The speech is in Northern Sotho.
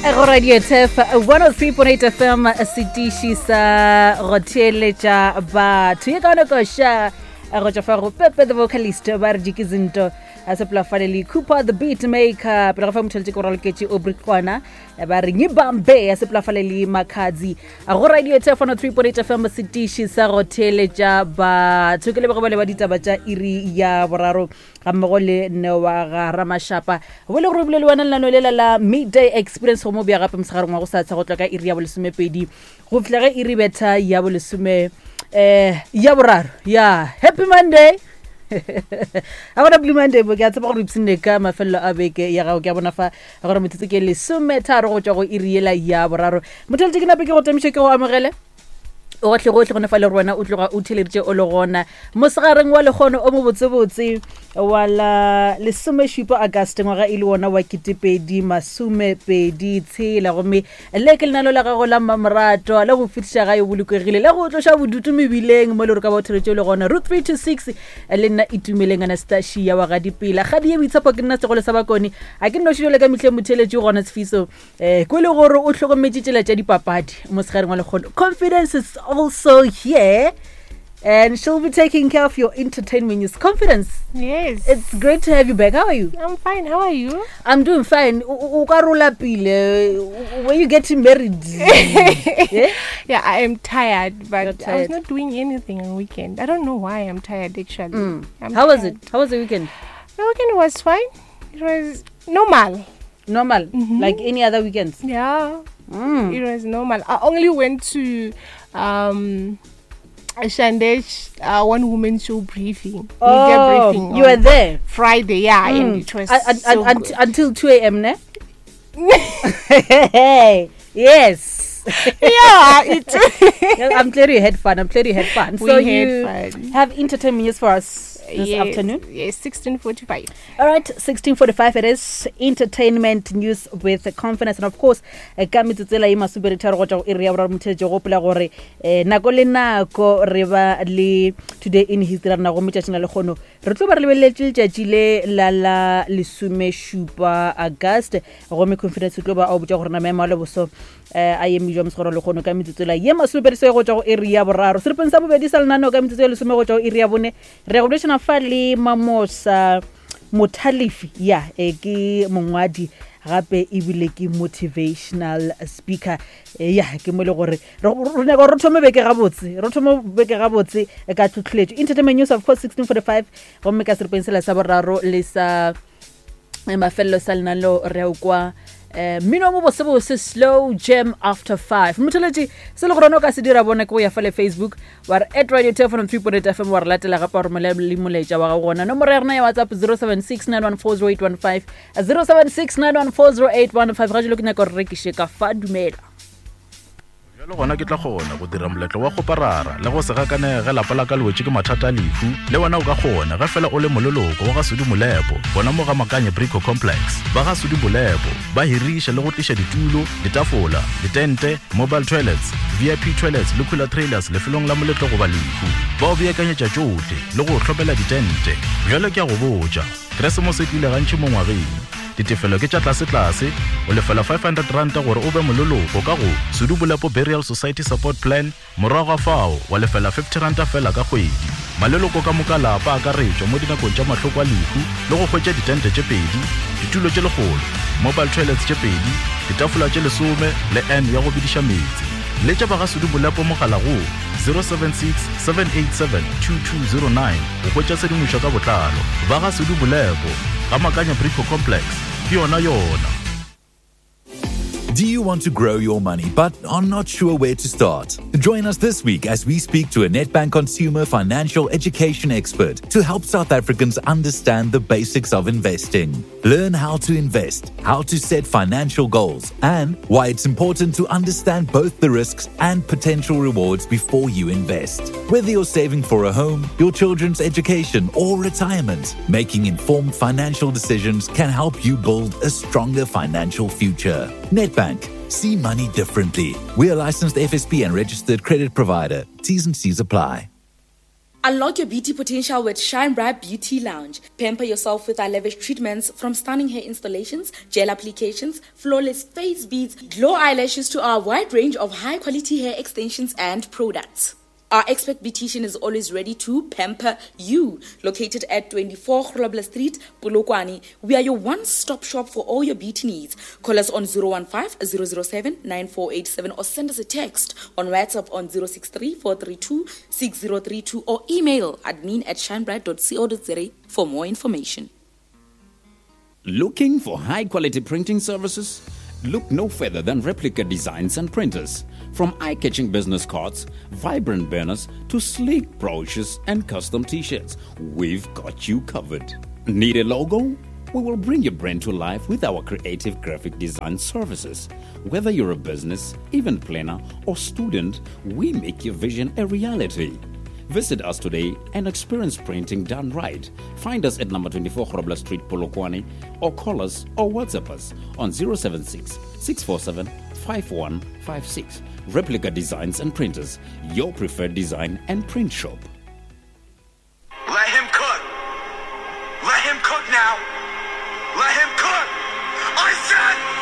Go Radio Turf 103.8 FM setiši sa go theeletša batho ye kaone koša go tšwa fa go Pepe the vocalist ba re dikizinto a sepela fale le Cooper the beat maker pele ga fa motheletse ke go raloketše Aubrey Kwana ba re ngibambe ya sepela fale le Makhadzi go Radio Turf 103.8 FM setiši sa go theeletša batho ke lebego ba le ba ditaba tša iri ya boraro ga mmogo le newa ga ramashapa bo le gore o bile le wena lenano lela la midday experience go mo bja gape mosegareng wa go sa tsha go tla ka iri ya bolesomepedi go fihla ge iri betha ya bolesome um ya boraro ya happy monday a gona blue monday bo ke a tseba gore ipshinne ka mafelelo a beke ya gago ke a bona fa gore metsotso ke lesometharo go tšwa go iri yela ya boraro motho ke nape ke go tamiše ke go amogele gohle gohle gone fa le gore wena o tloga o theleditše o le gona mosegareng wa lekgono o mobotsebotse wa la lesomešupa auguste ngwaga e le wona wa ketepedi masomepedi tshela gomme le ke lenano la gago la mmamorato la go fetiša gae o bolokegile la go tloša bodutu mebileng mo le gore ka ba o theletše o le gona root 3 to 6 le nna itumeleng anastasia wa gadipela gadi ye boitshepo ke nna segolo sa bakone a ke nnoši jale ka mehleng motheletši gona sefiso eh ko le gore o hlokometše tsela tša dipapadi mosegareng wa lekgono confidence is also here and she'll be taking care of your entertainment news confidence yes it's great to have you back how are you i'm fine how are you i'm doing fine o ka rola pile were you getting married yeah? yeah i am tired but tired. i was not doing anything on weekend i don't know why i'm tired actually mm. how tired. was it how was the weekend the weekend was fine it was normal normal mm -hmm. like any other weekends yeah mm. it was normal i only went to um Shandesh uh, one woman show briefing. Oh, briefing you were there Friday, yeah, mm. and it was so until 2 a.m. Ne? yes. yeah, it I'm glad you had fun. I'm glad you had fun. We so had you fun. have entertainment news for us this yes, afternoon. Yes, 16:45. All right, 16:45 it is entertainment news with confidence and of course eh, ka metsotso ela e masomepeditharo go tšwa go iri ya boraro motheletše gopola gore eh, nako le nako re ba le today in history rena gomme tšatšing la lekgono re tlo ba re lebeleletše letšatši le la la lesomešupa august gomme confidence o tlo ba a o botša gore na maemo a leboso eh, a eme jwa mosegoro lekgono ka metsotso la ye masomepedi go tšwa go iri ya boraro seripeng sa bobedi sa lenaneo ka metsotso ya lesome go tšwa go iri ya bone re ya go boledišana fa le mamosa mothalefi ya e ke mongwadi gape ebile ke motivational speaker e, ya ke mo e le gore re nyaka gore re thome beke gabotse re thome beke gabotse ka tlhotlheletšo entertainment news of course 1645 gomme ka seripeng sela sa boraro le sa eh, mafelelo sa lenaneo re o kwa eh, mmino mo bosebose slow jam after 5 motheletši se le gore o ka se dira bona ke go ya fa le facebook wa re at radio telephone 3.8 fm wa re latela gape wa romela le molaetša wa gago gona nomoro ya rena ya whatsapp 076 914 0815 076 914 0815 ga jalo ke nyaka gore rekiše ka fa dumela Bjalo gona ke tla kgona go dira moletlo wa kgoparara le go se gakanege ge lapa la ka le wetše ke mathata a lehu. Le wena o ka kgona ge fela o le moleloko wa ga Sudi Molepo gona mo ga Makanye Brico Complex. Ba ga Sudi Molepo ba hiriša le go tliša ditulo, ditafola, ditente, mobile toilets, VIP toilets le cooler trailers lefelong la moletlo goba lehu. Ba o beakanyetša tšohle le go o hlomela ditente. Bjale ke a go botša, Keresemose e tlile gantši mo ngwageng. Ditefelo ke tša tlasetlase, o lefela R500 gore o be moleloko ka go Sudu Bolepo Burial Society Support Plan, morago ga fao wa lefela R50 fela ka kgwedi. Maleloko ka moka lapa a akaretšwa mo dinakong tša mahloko a lehu le go hwetša ditente tše pedi, ditulo tše lekgolo, mobile toilets tše pedi, ditafola tše lesome le urn ya go bediša meetse. Letša ba ga Sudu Bolepo mogala go 076 787 2209 go hwetša tshedimošo ka botlalo. Ba ga Sudu Bolepo, ga Makanya Brico Complex, ke yona yona. Do you want to grow your money but are not sure where to start? Join us this week as we speak to a Nedbank consumer financial education expert to help South Africans understand the basics of investing. Learn how to invest, how to set financial goals, and why it's important to understand both the risks and potential rewards before you invest. Whether you're saving for a home, your children's education, or retirement, making informed financial decisions can help you build a stronger financial future. Nedbank. See money differently. We are licensed FSP and registered credit provider. T's and C's apply. Unlock your beauty potential with Shine Bright Beauty Lounge. Pamper yourself with our lavish treatments from stunning hair installations, gel applications, flawless face beads, glow eyelashes to our wide range of high quality hair extensions and products. Our expert beautician is always ready to pamper you. Located at 24 Grobler Street, Polokwane, we are your one-stop shop for all your beauty needs. Call us on 015 007 9487 or send us a text on WhatsApp on 063 432 6032 or email admin at shinebright.co.za for more information. Looking for high quality printing services? Look no further than Replica Designs and Printers. From eye catching business cards, vibrant banners, to sleek brochures and custom t shirts, we've got you covered. Need a logo? We will bring your brand to life with our creative graphic design services. Whether you're a business, event planner, or student, we make your vision a reality. Visit us today and experience printing done right. Find us at number 24 Grobler Street, Polokwane, or call us or WhatsApp us on 076 647 5156. Replica Designs and Printers, your preferred design and print shop. Let him cook. Let him cook now. Let him cook. I said.